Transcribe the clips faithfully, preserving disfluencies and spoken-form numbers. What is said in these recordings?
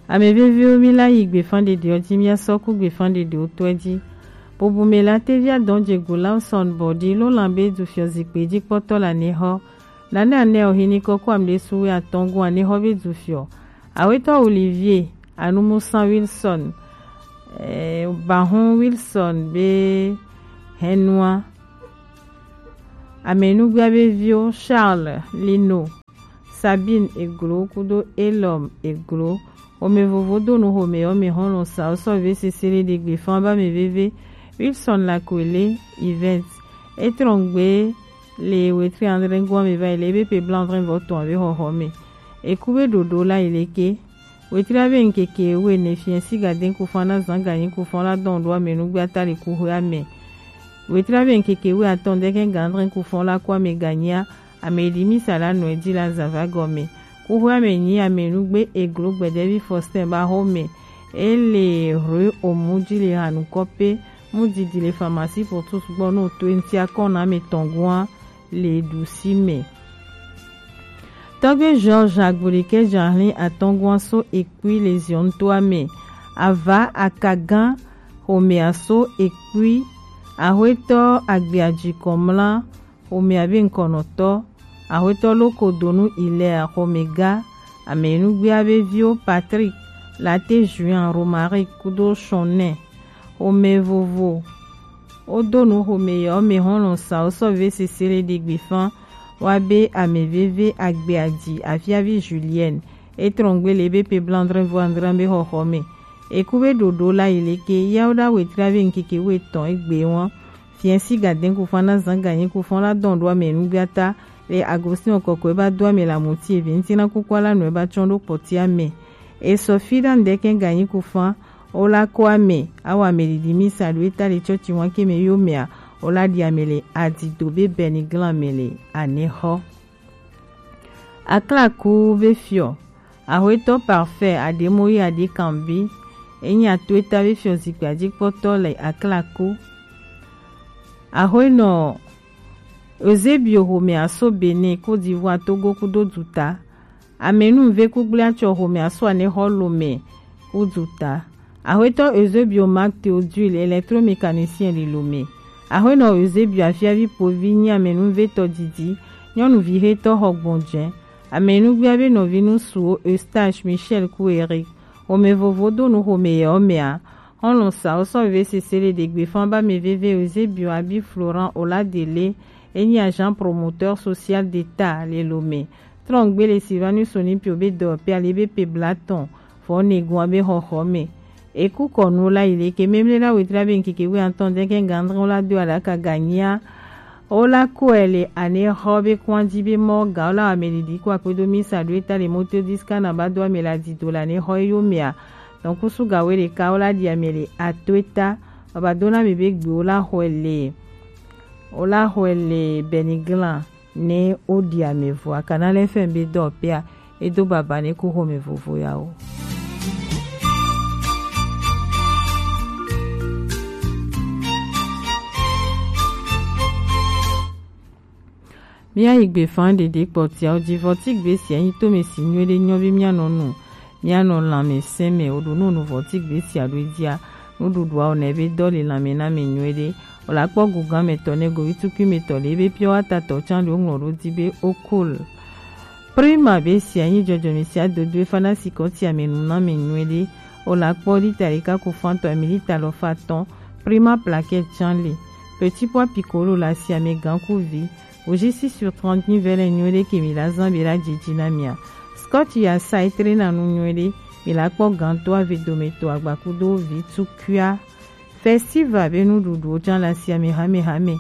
Ame veviwo, mi la yi gbefan ɖeɖewo ji, mi asɔ ku gbefan ɖeɖewo tɔe ji. Bubu me la tevi adɔn je go Lawson Bɔdi lo lan be du fiɔ zikpe ji kpɔtɔ la ne xɔ. Nane ane o hini kɔkɔ am ɖe suwe atɔn gu ane xɔ be du fiɔ. Awetɔ Olivier Anumusa Wilson, eh, Bahun Wilson be Henua. Amenugbe abe viwo Charles Lino, Sabine Eglo kudo Elom Eglo. Ome vovo do nu xome yɔ me xɔlɔn sa osɔ ve sesele ɖe gbe fan ba me veve. Wilson Lakwele Event. Etrɔngbe le wetri andre gua me va yi le ebe pe blanc andre vɔ tɔn ave xɔxɔ me. Eku be ɖoɖo la yi leke. Wetri abe ŋkeke wene fiɛ si gadin kufan na zan ganyi kufan la dɔn ɖo ame nugbe ata le kuxwe ame. Wetri abe ŋkeke we atɔn deke gandrin kufan la ku ame ganyia ame ɖi misa la nɔ edzi la zava gɔme. Kuxwe ame nyi ame nugbe Eglo Gbɛdɛvi Faustin ba xɔ me. Ele rue omu dzi le hanu kɔpe mu didi le pharmacie pour tous gbɔ no to ŋti akɔn na ame tɔn gua le ɖusi me. Tɔgbe Georges Agbolike Jahlin atɔngua so ekpui le Zion toa me. Ava Akagan xomea so ekpui. Axwetɔ Agbeaji Kɔmla xomea be ŋkɔnɔtɔ. Axwetɔ Lokodonu Ilea xomega. Amenugbea be viwo Patrick, Late Juin, Romaric kudo Shonɛ. Xome vovo. Wodo nu xome yɔ me hɔn lɔn sa wo sɔ ve sese le ɖe gbe fan. Wa be ame veve agbe aji afiavi Julienne. Etrɔngbe le be pe blandrin vo andrin be xɔxɔ me. Eku be ɖoɖo la yi leke yawo ɖa wetri ave ŋkeke wo etɔn egbe wɔn. Fiɛ si gadin kufan na zan ganyi kufan la dɔn ɖo ame nugbiata le Agostinɔ kɔkɔe ba do ame la muti evi ŋti na kukua la nɔe ba tsɔn ɖo kpɔtia me. Esɔ fi ɖa ŋdɛkɛ ganyi kufan. Wo la ko ame, awɔ ame ɖiɖi misa ɖo eta le tsɔtsi wan ke me yo mea, wo la ɖi ame le adido be bɛni glan me le anexɔ. Aklaku be fiɔ, axwetɔ Parfait Ademoyi Adekanbi, enyi ato eta be fiɔ zikpui adzikpɔtɔ le Aklaku. Axwenɔ Eusebio xome aso Benin, Côte d'Ivoire, Togo kudo duta. Amenuve kugble atsɔ xome aso anexɔ Lomé kudu ta. Axwetɔ Eusebio Marc Théodule, électromécanicien le Lomé. Axwenɔ Eusebio afiavi povi nyi amenuvetɔ didi. Nyɔnuvi xetɔ xɔ gbɔnjɛ. Amenugbia be nɔvi nusuwo Eustache, Michel ku Eric. Xome vovo do nu xome yɛ ɔmea. Xɔlɔn sa wo sɔ veve sese le ɖe gbe fan ba me veve Eusebio abi Florent Oladele. Enyi agent promoteur social d'État le Lomé. Trɔngbe le Sylvanus Olympio be dɔyɔƒe ali be pe blatɔn vɔ ne gun abe xɔxɔ me. Eku kɔnu la yi leke memle la wetri abe ŋkeke wi atɔn deke gandrɔ la do aɖaka ganyia. Wo la kɔe le anexɔ be kwan dzi be mɔ ga wo la ame ɖiɖi ko akpedo misa ɖo eta le moto diska na ba do ame la dido le anexɔ yo mea. Tɔnkusu ga wo ɖeka wo la ɖi ame le ato eta. Baba do na me be gbe wo la xɔe le. Wo la xɔe le Beniglan. Ne woɖi ame vɔa, Canal F M be dɔwɔƒea, edo baba ne ku xɔme vovo yawo. Míayi gbe fan ɖeɖe kpɔtiawo ji vɔ ti gbe sia nyi tome si nyuie ɖe nyɔ be míanɔ nu. Míanɔ lãmesẽ me, woɖo nu nu vɔ ti gbe sia ɖo edzia. Nuɖuɖua wonɛ be dɔ le lãme na mi nyuie ɖe. Wòle akpɔ gu gã me tɔ ne govi tukui me tɔ le ebe piɔ ata tɔ tsan ɖo ŋlɔ ɖo di be okol. Prima be sia nyi dzɔdzɔme sia dodo efa na sikɔ tia me nu na mi nyuie ɖe. Wòle akpɔ lita ɖeka ku fan tɔ mi lita lɔ fa tɔn. Prima plaquette tsan le. Petit pois piccolo le asia me gã ku vi. Au juste sur trente mille vɛlɛ nyuie ɖe ke mi la zan be la dzidzi na mia. Scotch ya sa etre na nu nyuie ɖe. Mi la kpɔ gãtɔ ave dome to agbakudo vi tukuia. Festival be nuɖuɖuwo tsã le asia me hamehame.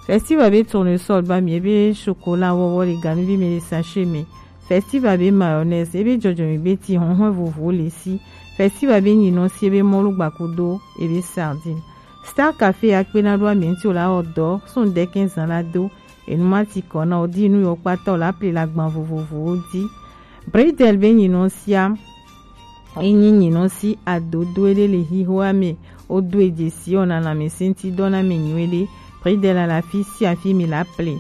Festival be tournesol ba mi ebe chocolat wɔwɔ le ganuvi me le sachet me. Festival be mayonnaise ebe dzɔdzɔme be ti hɔnhɔn vovowo le si. Festival be nyinɔ si ebe mɔlu gbakudo ebe sardine. Star Café akpena ɖo ame ŋuti wòle awɔ dɔ so ŋdɛkɛ zan la do. Enu ma ti kɔ na wò di nu yɔ kpata wòle apli le agban vovovowo di. Bridel be nyinɔ sia enyi nyinɔ si adodo eɖe le hihoa me. Wodo edze si wòna lãmesẽ ŋuti dɔ na ame nyuie ɖe. Bridel le afi sia afi mi le apli.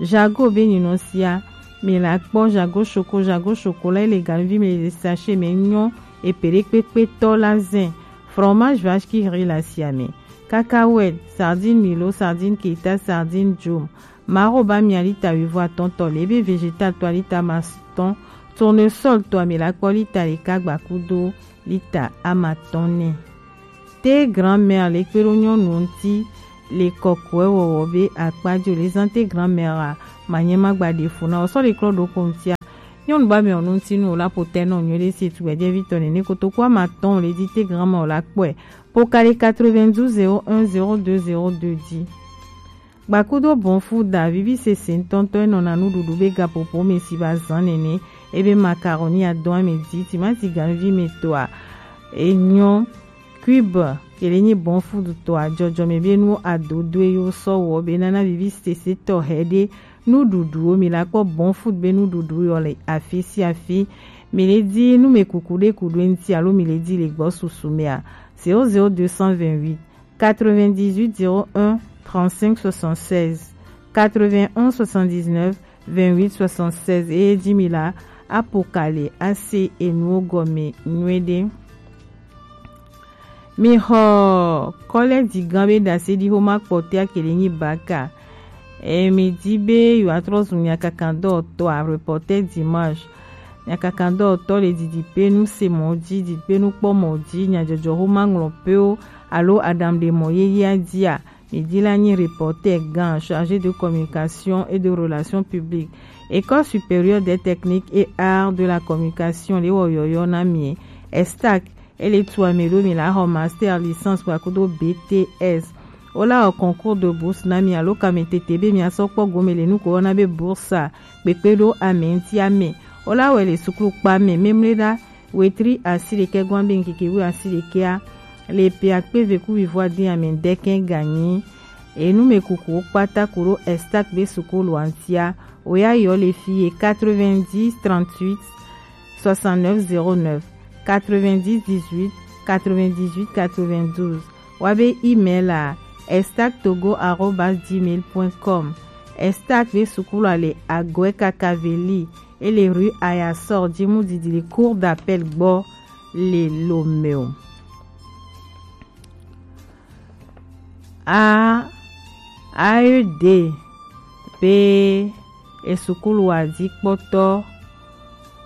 Jago be nyinɔ sia mi la kpɔ jago shoko jago shoko la ele ganuvi mi le sachet me nyɔ. Epeɖekpekpetɔ la zɛn, fromage vache qui rit la siame, cacahuète, sardine milo, sardine keta, sardine jom, maro ba mia lita wuivo atɔntɔ le be, vegetal tɔ lita amatɔn, tournesol tɔ mi la kpɔ lita ɖeka gba kudo lita amatɔn nɛ. Te grand-mère le kpe ɖo nyɔnu ŋuti le kɔkɔɛ wɔwɔ be akpa jo le zan te grand-mère a, manyɛ magba ɖe fu na o sɔ le klɔ ɖo ko ŋutia. Nyɔnu ba mɛ o nu ŋuti nu o la potɛ nɔ nyuie ɖe si tu gbɛdɛ vi tɔ nene kotoku amatɔn le di te grand-mère o la kpɔɛ. Pokale quatre-vingt-douze zéro un zéro deux zéro deux di. Gbakudo bɔnfu da vivi sese ŋutɔŋutɔ enɔna nuɖuɖu be gapopo me si ba zan nene, ebe macaroni adɔn ame di, timati ganuvi me tɔa enyɔ, cube kele nyi bɔnfu tɔa jɔjɔme be nu adodoe yo sɔ wɔ be nana vivi sese tɔ hɛ ɖe nuɖuɖuwo mi la kpɔ bɔnfu be nuɖuɖu yɔ le afi si afi. Mi le di nu me kuku ɖe ku ɖo eŋuti alo mi le di le gbɔ susu mea, zéro zéro deux cent vingt-huit quatre-vingt-dix-huit zéro un trente-cinq soixante-seize, quatre-vingt-onze soixante-dix-neuf vingt-huit soixante-seize. Eye ji mi la, apo kale ase enuwo gɔme nyuie ɖe. Mi xɔ kɔlɛji gan be ɖase ɖi xoma kpɔtɛa kele nyi baka. E mi di be yewoatrɔ zun nyakakandɔtɔ a, reporter dimanche. Nyakakandɔtɔ le didi pe nu se mɔ ji, didi pe nu kpɔ mɔ ji, nyajɔjɔ xoma ŋlɔ pewo alo aɖaŋuɖemɔ yeyea jia, mi di la nyi reporter gan chargé de communication et de relations publiques. École supérieure des techniques et arts de la communication le wɔ yɔyɔ na mi. Estac, ele tu ame ɖo mi la xɔ master, licence kpakudo B T S. Wo la wɔ concours de bourse na mi alo kame tete be mi asɔ kpɔ gome le nu ko wɔna be bourse a, kpekpe ɖo ame ŋuti ame. Wo la wɔ le suklu kpa me memle ɖa wetri asi ɖekɛ gɔn be ŋkeke wu asi ɖekɛa, le pe akpe ve ku wivo adi ame ɖekɛ ganyi. Enu me kuku wo kpata ku ɖo Estac be sukulu antia, wo ya yɔ le fi ye quatre-vingt-dix trente-huit soixante-neuf zéro neuf, quatre-vingt-dix dix-huit quatre-vingt-dix-huit quatre-vingt-douze. Wa be email a, estac togo arobase gmail point com. Estac be sukulu a le Agoe Kakaveli, ele rue Ayasor, Djimou Didili, cour d'appel gbɔ le Lomeo. A, A E D be esukulu adikpɔtɔ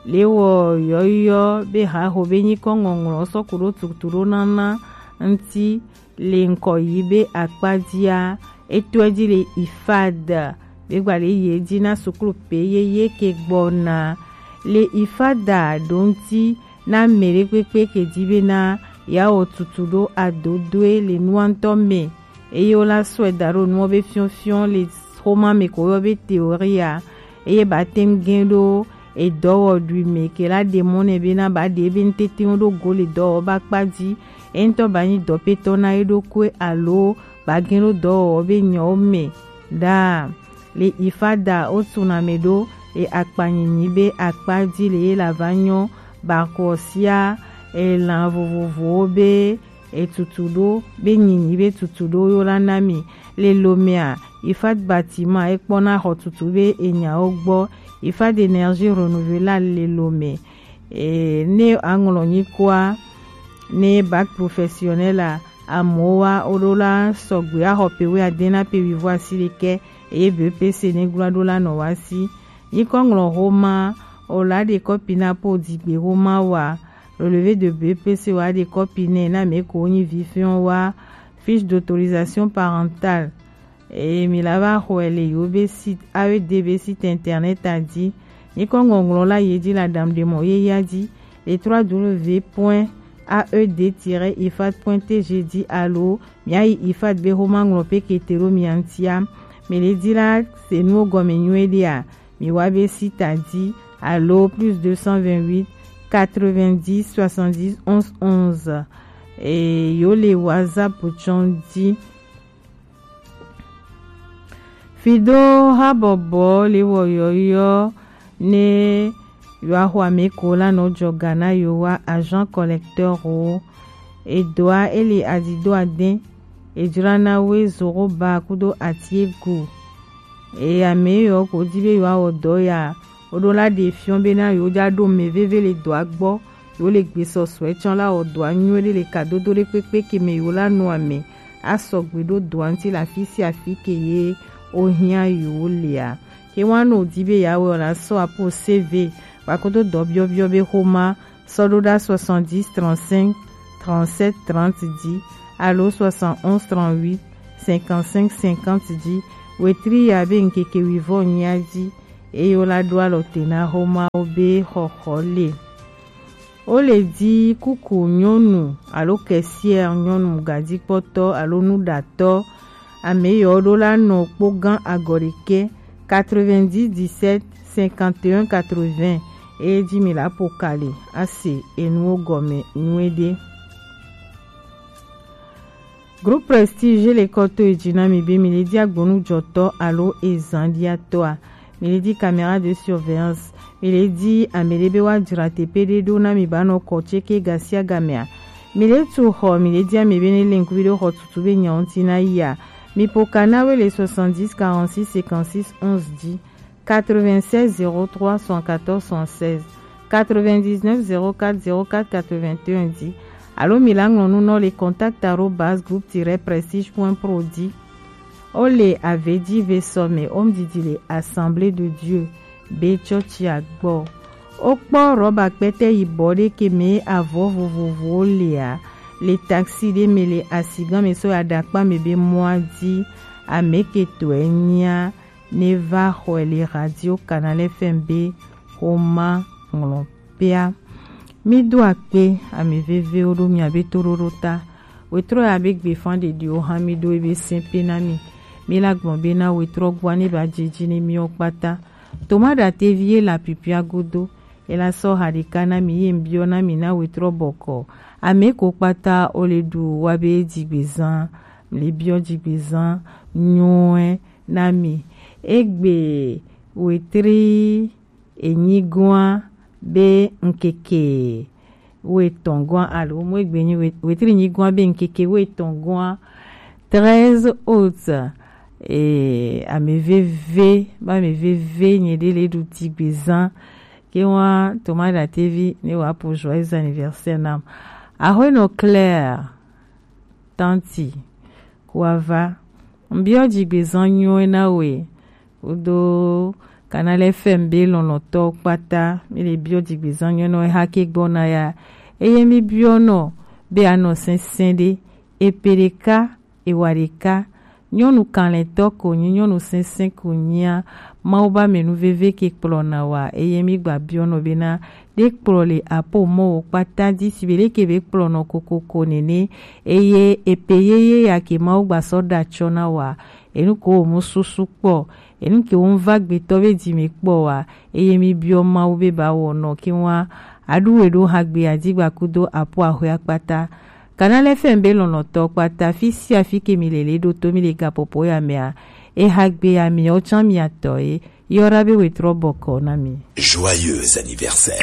le wɔ yɔyɔ be haho be nyikɔ ŋɔŋlɔ sɔ ku ɖo tutu ɖo nana ŋuti le ŋkɔ yi be akpa jia, etɔe ji le ifad be gba le ye ji na sukulu pe yeye ke gbɔna le ifada ɖo ŋuti na mɛ ɖe kpekpe ke ji be na ya wɔ tutu ɖo adodoe le nua ŋutɔ me, eye wo la sɔe da ɖo nuwo be fiɔfiɔ le xoma me ko yɔ be théorie a, eye ba te ŋu gɛn ɖo edɔwɔɖui me ke la ɖe mɔ nɛ be na ba ɖe ebe ŋutete wo ɖo go le dɔwɔwɔ ba kpa ji, eŋutɔ ba nyi dɔpetɔ na ye ɖokui alo ba gɛn ɖo dɔwɔwɔ be nyɔwo me ɖaa. Le ifada wo tuna me ɖo e akpanyinyi be akpa ji le ye la va nyɔ ba kɔ sia elan vovovowo be etutu ɖo be nyinyi be tutu ɖo yo la na mi. Le Lomea, ifat bâtiment ekpɔna xɔ tutu be enyawo gbɔ. Ifat d'énergie renouvelable le Lomé. E, ne aŋlɔ nyikɔa ne bac professionnel a, amowa woɖo la sɔgbe axɔ pe wuiade na pe wuivo asi ɖekɛ, eye B P C ne gbla ɖo la nɔ wa si. Nyikɔ ŋlɔ xoma o la ɖe kɔpi na po digbe xoma wa. Relevé de B P C wa ɖe kɔpi nɛ na mɛ ko nyi vifiɔ wa fiche d'autorisation parentale. Eye mi la va xɔe le yo be site, A E D be site internet a ji. Nyikɔ ŋɔŋlɔ la ye ji la dam de mɔ ye ya ji le trois W point A E D tiret ifat point T G ji alo mia yi ifat be xoma ŋlɔ pe kete ɖo mia ŋutia. Mi le di la se nuwo gɔme nyuie ɖea, mi wa be site a ji alo plus deux cent vingt-huit quatre-vingt-dix soixante-dix onze onze. E yo le WhatsApp tsɔn ji. Fido habɔbɔ le wɔ yɔyɔ ne yoaxɔ ame ko la nɔ jɔ ga na yo wa agent collecteur o. Edoa ele adido ade, ejra na we zoro ba kudo atiego. E ame yɔ ko di be yoawɔ dɔ ya, woɖo la ɖe fiɔ be na yo ja ɖo mɛ veve le dɔa gbɔ. Yewo le gbe sɔsɔɛ tsɔ la wɔ dɔa nyuie ɖe le kadodo ɖe kpekpe ke me yewo la nɔ ame asɔgbe ɖo dɔa ŋuti le afi sia afi ke ye wohiã yewo lea. Ke wa nɔ wòdi be yeawɔe ɔ, la sɔ apo C V kpakodo dɔ biɔbiɔ be xoma sɔ ɖo ɖa soixante-dix trente-cinq trente-sept trente dzi alo soixante-onze trente-huit cinquante-cinq cinquante dzi wetri ya be ŋkeke wuivɔ nyia dzi, eye wo la ɖo alɔ te na xomawo be xɔxɔ le. Wo le di kuku nyɔnu alo kɛsiɛ nyɔnu gadzikpɔtɔ alo nuɖatɔ ame yɔ ɖo la nɔ kpogã agɔ ɖekɛ quatre-vingt-dix dix-sept cinquante et un quatre-vingts, eye ji mi la po ka le ase enuwo gɔme nyuie ɖe. Groupe Prestige le kɔ to edzi na mi be mi le di agbonujɔtɔ alo ezanɖiatɔa, mi le di caméra de surveillance, mi le di ame ɖe be woadzra teƒe ɖe ɖo na mi ba nɔ kɔ tse ke ga sia gamea, mi le tu xɔ, mi le di ame be ne le ŋkuvi ɖe xɔ tutu be nyawo ŋuti na yia, mi po ka na we le soixante-dix quarante-six cinquante-six onze dzi. Quatre-vingt-seize zéro trois soixante-quatorze soixante-seize, quatre-vingt-dix-neuf zéro quatre zéro quatre quatre-vingt-un dzi alo mi la ŋlɔ nu nɔ le contact arobase groupe tiret prestige point pro dzi. O le ave dzi ve sɔ me o ŋdidi le Assemblée de Dieu be tsɔtsia gbɔ. O kpɔ rɔba kpɛtɛ yibɔ ɖe ke me avɔ vovovowo lea le taxi ɖe me le asigã me sɔ yi aɖakpa me be mɔa dzi ame ke tɔe nyia ne va xɔe le Radio Canal F M be xoma ŋlɔkpea. Mi do akpe ame vevewo ɖo mia be toɖoɖo ta. Wetrɔ ya be gbefa ɖeɖiwo hã mi ɖo ebe sɛnpe na mi. Mi la gblɔ be na wetrɔ gbɔa ne ba dze dzi ne miwo kpata. Toma ɖatevi ye la pipia godo. Ela sɔ ha ɖeka na mi ye ŋbiɔ na mi na wetrɔ bɔkɔ. Ame ko kpata o le ɖu wa be dzigbezã, le biɔ dzigbezã nyuie na mi. Egbe wetri enyigoa be ŋkeke wetɔn goa alo mo egbe nyi wet-, wetri enyigoa be ŋkeke wetɔn goa treize août. E, ame veve, ba ame veve nye ɖe le ɖu dzigbezã. Ke wa Toma ɖatevi ne wa po joyeux anniversaire nam. Aƒenɔ Claire, tanti, kuava. Mbiɔ dzigbezã nyuie na we. Kudo Canal F M be lɔlɔtɔ kpata, mi le biɔ dzigbezã nyuie na we hake gbɔna ya. Eye mi biɔ nɔ be anɔ sɛnsɛn ɖe. Epe ɖeka ewa ɖeka. Nyɔnu kalẽtɔ ko nyi, nyɔnu sɛnsɛn ko nyia, Mawu ba menu veve ke kplɔna wa, eye mi gba biɔ nɔ bena ɖe kplɔ le apo mɔ wo kpata di si be ɖe ke be kplɔnɔ kokoko nene, eye epe yeye ya ke Mawu gba sɔ ɖa tsɔ na wa, enu ko wo mu susu kpɔ, enu ke wo va gbetɔ be dzi me kpɔ wa, eye mi biɔ Mawu be ba wɔ nɔ ke wa aɖu we ɖo hagbe adigba kudo apo ahwe akpata. Canal F M be lɔlɔtɔ kpata, fi sia fi ke mi le le ɖo to mi le gapopo ya mea, eha gbe ya mi o tsan mi atɔ ye, yɔra be wetrɔ bɔkɔ na mi. Joyeux anniversaire.